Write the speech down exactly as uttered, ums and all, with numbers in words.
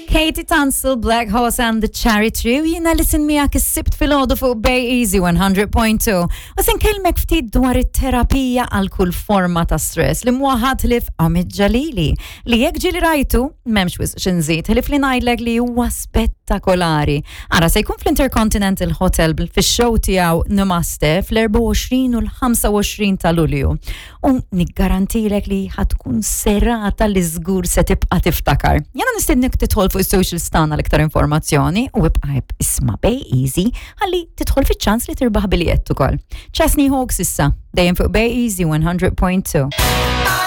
Katie Tunstall, Black Horse and the Cherry Tree, u jiena Alison miegħek is-Sibt filgħodu fuq Bay Easy one hundred point two. U se nkellmek ftit dwar it-terapija għal kull forma ta' stress li mhu ħadd ħlief Amit Jalili li jekk ġieli rajtu, m'hemmx wisq x'inżid, ħlief li ngħidlek li huwa spettakolari. Ara, se jkun fl-Intercontinental Hotel fix-show tiegħu Namaste fl-erbgħa u għoxrin u l-ħamsa u għoxrin ta' Lulju. U niggarantilek li ħa tkun serata li żgur se tibqa' tiftakar. Jiena nistednek tidħol fuq is-social tagħna l-iktar informazzjoni u ibqa' isma' Bay Easy ħalli tidħol fiċ-ċans li tirbaħ biljett ukoll. Chesney Hawks issa, dejjem fuq Bay Easy one hundred point two.